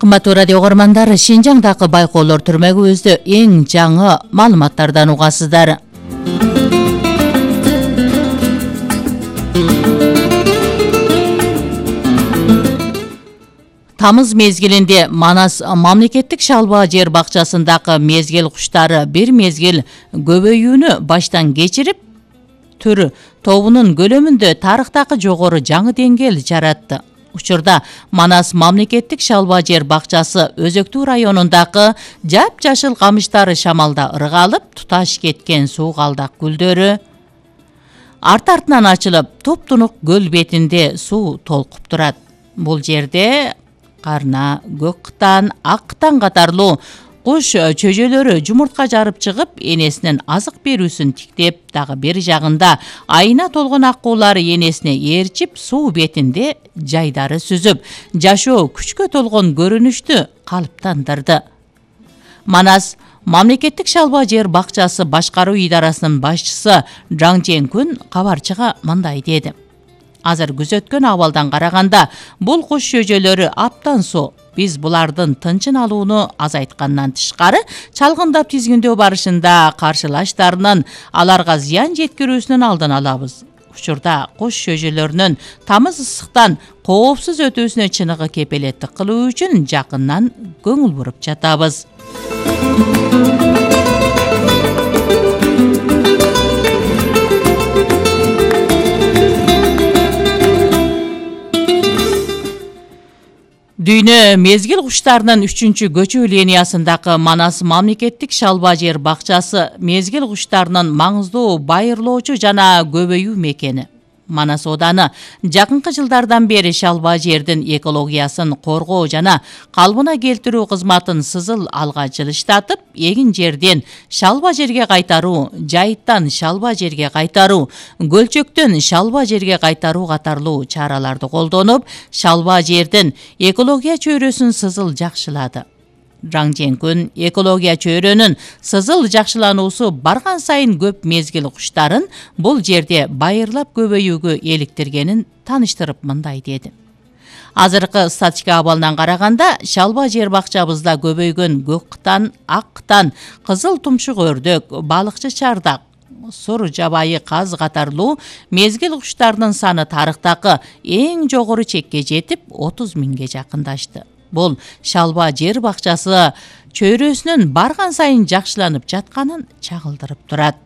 Кымбаттуу радио угармандар, Шинжаңдагы байкоолор түрмөгүбүздө эң жаңы маалыматтардан угасыздар. Тамыз мезгилинде Манас мамлекеттик шалба жер бакчасындагы мезгил куштары бир мезгил көбөйүүнү баштан кечирип, түр тобунун көлөмүндө тарыхтагы жогору жаңы деңгээл жаратты. Учурда Манас мамлекеттик шалба жер бакчасы Өзөктүү районундагы жап-жашыл камыштары шамалда ыргалып, туташ кеткен суу калдак гүлдөрү арт-артынан ачылып, туп-тунук көл бетинде суу толкуп турат. Бул жерде карна, көк кытан, ак кытан катарлуу куш чөжөлөрү жумуртка жарып чыгып, энесинин азык берүүсүн тиктеп, дагы бир жагында айына толгон аккуулары энесине ээрчип, суу бетинде жайдары сүзүп, жашоо күчкө толгон көрүнүштү калыптандырды. Манас мамлекеттик шалба жер бакчасы башкаруу идарасынын башчысы Жаң Жеңкүн кабарчыга мындай деди: Азыр күзөткөн абалдан караганда, бул куш чөжөлөрү аптан соо. Биз булардын тынчын алууну азайткандан тышкары, чалгындап тизгиндөө барышында каршылаштарынын аларга зыян жеткирүүсүнүн алдын алабыз. Учурда куш чөжөлөрүнүн тамыз ысыктан коопсуз өтүүсүнө чыныгы кепелеттик кылуу үчүн жакындан көңүл буруп жатабыз. Дүйнө мезгил куштарынын 3-көчүү линиясындагы Манас мамлекеттик шалба жер бакчасы мезгил куштарынын маңыздуу байырлоочу жана көбөйүү мекени. Манас ооданы жакынкы жылдардан бери шалба жердин экологиясын коргоо жана калыбына келтирүү кызматын сызыл алга жылыштатып, эгин жерден шалба жерге кайтаруу, жайыттан шалба жерге кайтаруу, көлчөктөн шалба жерге кайтаруу катарлуу чараларды колдонуп, шалба жердин экология чөйрөсүн сызыл жакшылады. Жаң Жеңкүн экология чөйрөнүн сызыл жакшылануусу барган сайын көп мезгил куштарын бул жерде байырлап көбөйүүгө эликтиргенин таныштырып мындай деди: Азыркы статистика абалынан караганда, шалба жер бакчабызда көбөйгөн көк кытан, ак кытан, кызыл тумшук өрдөк, балыкчы чардак, сур жабайы каз катарлуу мезгил куштарынын саны тарыхтагы эң жогору чекке жетип, 30 миңге жакындашты. Бул шалба жер бакчасы чөйрөсүнүн барган сайын жакшыланып жатканын чагылдырып турат.